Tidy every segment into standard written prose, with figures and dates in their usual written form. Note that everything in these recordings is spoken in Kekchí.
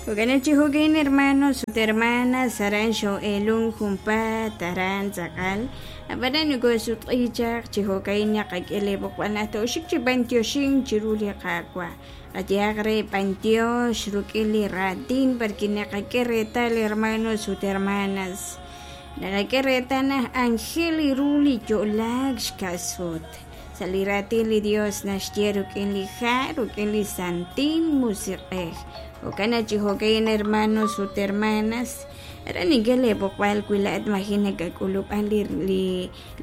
Jo'kan chi jo'kan hermanos ut hermanas aran xoo'eelunk junpaat aran tz'aqal ab'anan nokosutq'i chaq chi jo'ka'in naqak'e li b'oqb'al naq tooxik chi b'antioxink chiru li Qaawa' qayehaq re b'antiox rik'in li raatin porque naqak'e reetal hermanos ut hermanas naqak'e reetal naq anjel ru li yo'laak xka'sut sa' li raatin li Dios naxye rik'in li ha' rik'in li Santil Musiq'ej jo'kan chi jo'kan hermanos ut hermanas aran nink'e lee b'oqb'al wi laa'at maji' nakak'ulub'an li li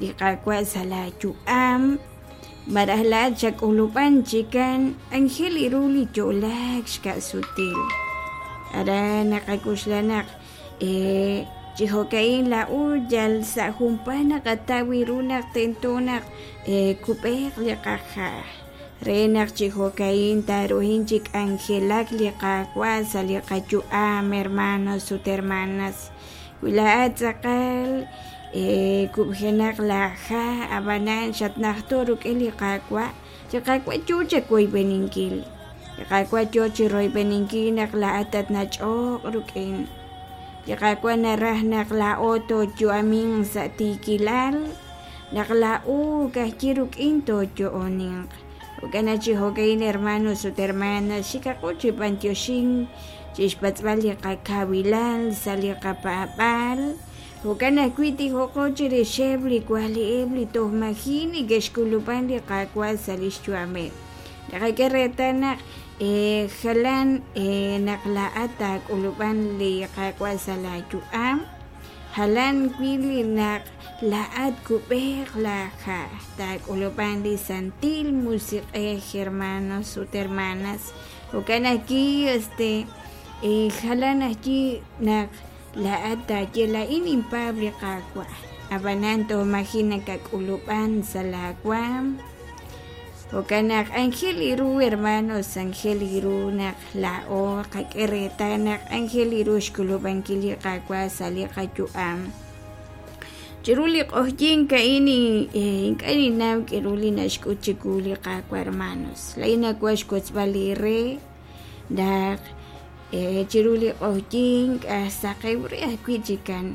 li Qaawa' sa' laayu'am malaj laa'at xak'ulub'an chikan anjel ru li yo'laak xka'sutil aran naqak'oxla naq chi jo'ka'in laa'o yal sa' junpaat naqataw ru naq tento naq kub'eeq li qaha' re naq chi jo'ka'in taaruhin chi k'anjelak li Qaawa' sa' li qayu'am hermanos ut hermanas wi laa'at tz'aqal kub'jenaq laaha' ab'anan xatnajto' rik'in li Qaawa' li Qaawa' yoo chawoyb'eninkil li Qaawa' yoo chiroyb'eninkil naq laa'at tatnach'oq rik'in li Qaawa' naraj naq laa'o tooyu'aminq sa' tiikilal naq laa'o ka'ajwi' rik'in tooyo'oninq jo'kan chi jo'ka'in hermanos ut hermanas xikaqo chi b'antioxink chixpatz'b'al li qakawilal sa' li qapaab'aal jo'kan ajwi' tijoqo chirixeb' li wali'eb' li toj maji' neke'xk'ulub'an li Qaawa' sa' lix yu'ameb' naqak'e reetal naq jalan naq laa'at taak'ulub'an li Qaawa' sa' laayu'am jalan wi' li naq laa'at kub'eeq laaha' taak'ulub'an li Santil Musiq'ej hermanos ut hermanas jo'kan ajwi' este jalan ajwi' naq laa'at taaye laa'in ninpaab' li Qaawa' ab'anan toj maji' nakak'ulub'an sa' laawaam jo'kan naq anjel ru hermanos anjel ru naq laa'o qak'e reetal naq anjel ru xk'ulub'ankil li Qaawa' sa' li qayu'am chiru li q'oqyink a'in ink'a' ninnaw k'aru li naxk'ut chiwu li Qaawa' hermanos laa'in nawaj xwotzb'al li re naq chiru li q'oqyink saqew re ajwi' chikan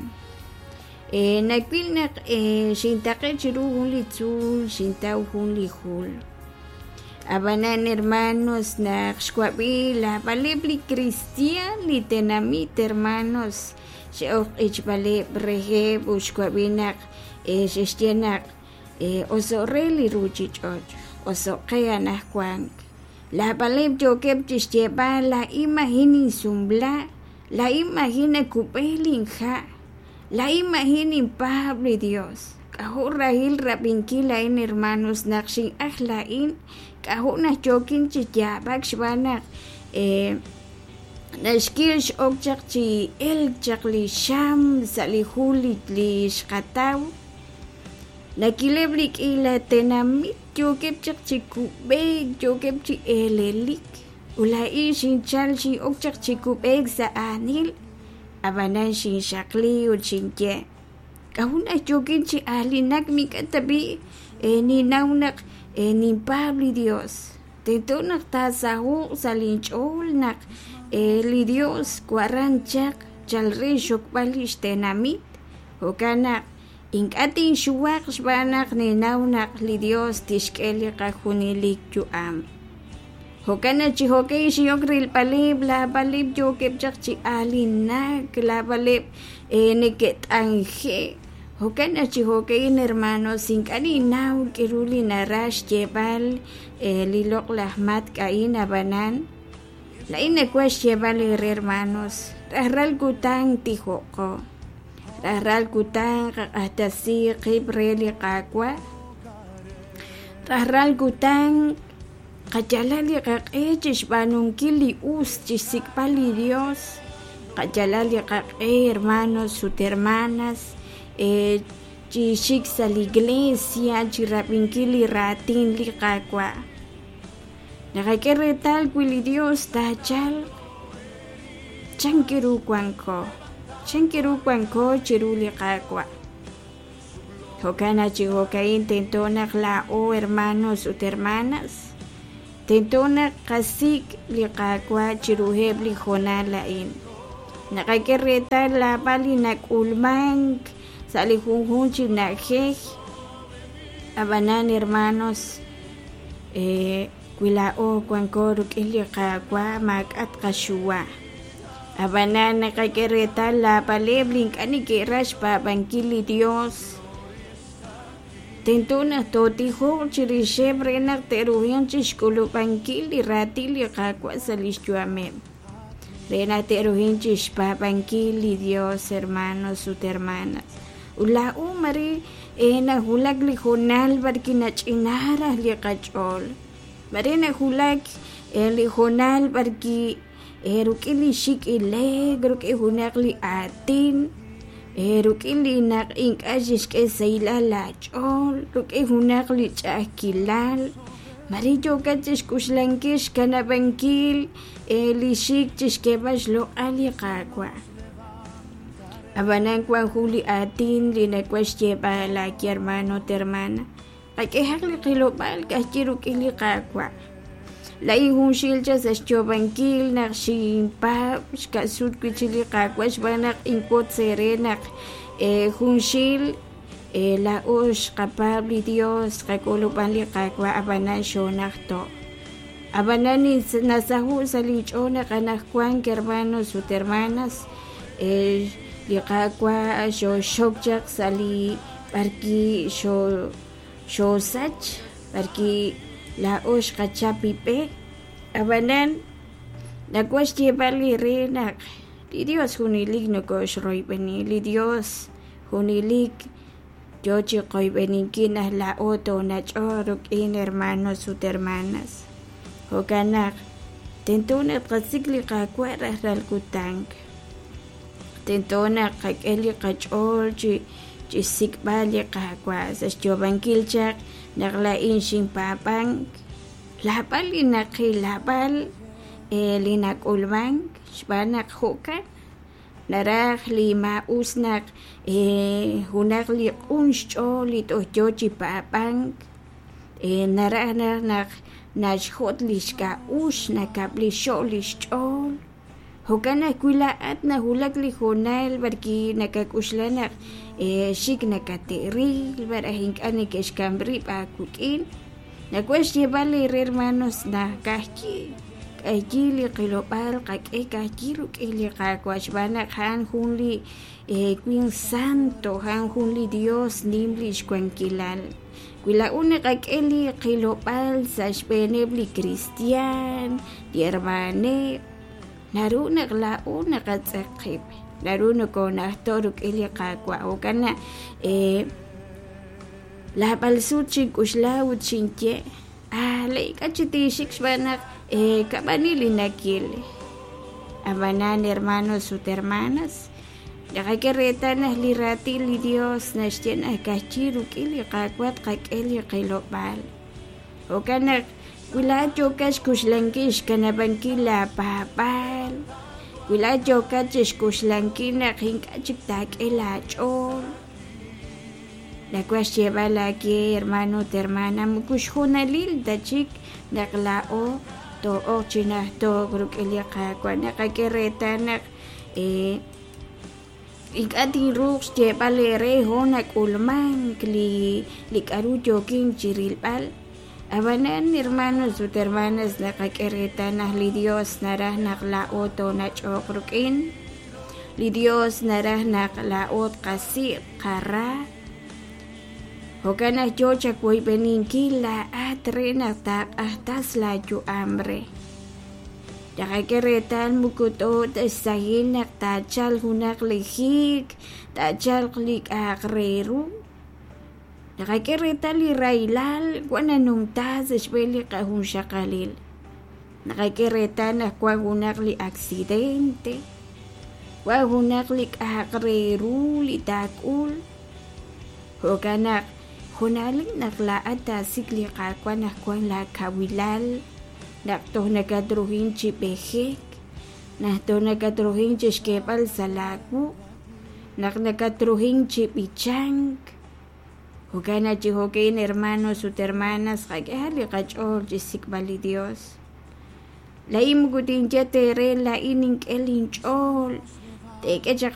nawil naq xintaqe' chiru jun li tzuul xintaw jun li jul ab'anan hermanos naq xwab'i naab'aleb' li kristiaan li tenamit hermanos xe'ok q'ichb'aleb' reheb' ut xwab'i naq xe'xye naq oso'k re li ruuchich'och' oso'k qe anaqwan naab'aleb' yookeb' chixyeeb'al laa'in maji' ninsumbla laa'in maji' nakub'e linha' laa'in maji' ninpaab' li Dios k'ajo' rahil rab'inkil a'in hermanos naq xin'aj laa'in k'ajo' naq yookin chi yaab'ak xb'aan naq naxkil x'ok chaq chi elk chaq li xam sa' li jul li xqataw nakileb' li k'iila tenamit yookeb' chaq chi kub'eek yookeb' chi eelelik ut laa'in xinchal xin'ok chaq chi kub'eek sa' aanil ab'anan xinxaqli ut xinye k'ajo' naq yookin chi aalinak mink'a' tab'i' ninnaw naq ninpaab' li Dios tento naq taasaho'q sa' linch'ool naq li Dios waran chaq chal re xxokb'al li xtenamit jo'kan naq ink'a' tinxuwaq xb'aan naq ninnaw naq li Dios tixk'e li qajunelik yu'am jo'kan naq chi jo'kan xin'ok rilb'aleb' naab'aleb' yookeb' chaq chi aalinak naab'aleb' neke't'anje' jo'kan naq chi jo'kan hermanos ink'a' ninnaw k'aru li naraj xyeeb'al li loq'laj matk' a'in ab'anan laa'in nawaj xyeeb'al eere hermanos rajlal kutan tijo'qo rajlal kutan qaq'axtesi qib' re li Qaawa' rajlal kutan qayalaq li qaq'e chixb'aanunkil li us chixsik'b'al li Dios qayalaq li qaq'e hermanos ut hermanas chi xik sa' li iglesia chirab'inkil li raatin li Qaawa' naqak'e reetal wi li Dios taachalq chan ru wanko chan ru wanko chiru li Qaawa' jo'kan naq chi jo'ka'in tento naq laa'o hermanos ut hermanas Tento naq tqasik' li Qaawa' chiruheb' li hoonal a'in. Naqak'e reetal naab'al li nak'ulmank sa' li junjunq chi na'ajej, ab'anan hermanos, wi laa'o wanko rik'in li Qaawa' maak'a' tqaxuwa. Ab'anan naqak'e reetal naab'aleb' li ink'a' neke'raj xpaab'ankil li Yos. Tento naq tootijoq chirixeb' re naq te'ruhanq chi xk'ulub'ankil li raatin li Qaawa' sa' li xyu'ameb', re naq te'ruhanq chi xpaab'ankil li Yos, hermanos ut hermanas. Ut laa'o mare nawulak li hoonal b'arwi' nach'ina raj li qach'ool, mare nawulak li hoonal b'arwi' rik'in li xik' ile'k, rik'in junaq li aatin, rik'in li naq ink'a' xixk'e xsahilal laach'ool, rik'in junaq li ch'a'ajkilal, mare yookat chi xk'oxlankil xkanab'ankil li xik chi xk'eeb'al xloq'al li Qaawa'. Ab'anan wank jun li aatin li nawaj xyeeb'al aawe hermano ut hermana, qak'ehaq li qilob'aal ka'ajwi' rik'in li Qaawa'. Laa'in junxil chaq sa' xyoob'ankil naq xinpaab' xka'sut wi' chik li Qaawa' xb'aan naq inwotz eere naq junxil laa'o xqapaab' li Dios, xqak'ulub'an li Qaawa' ab'anan xoonajto'. Ab'anan nasaho' sa' linch'ool naq anaqwan hermanos ut hermanas li Qaawa' xooxxok chaq sa' li b'arwi' xoosach, b'arwi' laa'o xqachap li b'e. Ab'anan nawaj xyeeb'al eere naq li Dios junelik nokooxroyb'eni, li Dios junelik yo chi qoyb'eninkil naq laa'o toonach'oq rik'in hermanos ut hermanas. Jo'kan naq tento naq tqasik' li Qaawa' rajlal kutan. Tento naq qak'e li qach'ool chi xsik'b'al li Qaawa' sa' xyoob'ankil chaq naq laa'in xinpaab'ank. Naab'al li naqil, naab'al li nak'ulmank xb'aan naq jo'kan naraj li maa'us naq junaq li q'un xch'ool li toj yo chi paab'ank naraj naq naxjot' li xk'a'uxl, nakab'lixo' li xch'ool. Jo'kan ajwi' laa'at nawulak li hoonal b'arwi' nakak'oxla naq xik nakate'ril malaj ink'a' neke'xk'am rib' aawik'in. Nawaj xyeeb'al eere hermanos naq ka'ajwi' k'ayi li qilob'aal qak'e ka'ajwi' rik'in li Qaawa' xb'aan naq a'an jun li winq santo, a'an jun li Dios nim li xwankilal. Wi laa'o naqak'e li qilob'aal sa' xb'eeneb' li kristiaan, li hermaneb', naru naq laa'o naqatz'eq qib', naru nokoonajto' rik'in li Qaawa'. Jo'kan naq naab'al sut xink'oxla ut xinye, ah, la ink'a' chi tinxik xb'aan naq kab'ani li nakil. Ab'anan hermanos ut hermanas, naqak'e reetal naq li raatin li Dios naxye naq ka'ajwi' rik'in li Qaawa' tqak'e li qilob'aal. Jo'kan naq wi laa'at yookat xk'oxlankil xkanab'ankil laapaab'aal, wi laa'at yookat chi xk'oxlankil naq ink'a' chik taak'e laach'ool, nawaj xyeeb'al aawe hermano ut hermana, moko xhoonalil ta chik naq laa'o too'ok chi najto'k rik'in li Qaawa'. Naqak'e reetal naq ink'a' tinruuq xyeeb'al eere hoon nak'ulmank li k'aru yookin chi rilb'al. Ab'anan hermanos ut hermanas, naqak'e reetal naq li Dios naraj naq laa'o toonach'oq rik'in. Li Dios naraj naq laa'o tqasik' qara. Jo'kan naq yo chawoyb'eninkil laa'at re naq taaq'ajtas laayu'am re. Naqak'e reetal moko t'o ta xsahil naq taachalq junaq li hiik, taachalq li k'a'aq re ru. Naqak'e reetal li rahilal wan nanumta sa' xb'een li qajunxaqalil. Naqak'e reetal naq wan junaq li accidente, wan junaq li k'a'aq re ru li taak'ul. Jo'kan naq junalik naq laa'at taasik' li Qaawa' naq wan laakawilal, naq toj nakatruhin chi b'ejek, naq toj nakatruhin chi xk'eeb'al sa' laawuq', naq nakatruhin chi b'ichank. Jo'kan naq chi jo'ka'in hermanos ut hermanas, qak'ehaq li qach'ool chi xsik'b'al li Dios. Laa'in moko tinye ta eere, laa'in nink'e linch'ool, teek'e chaq.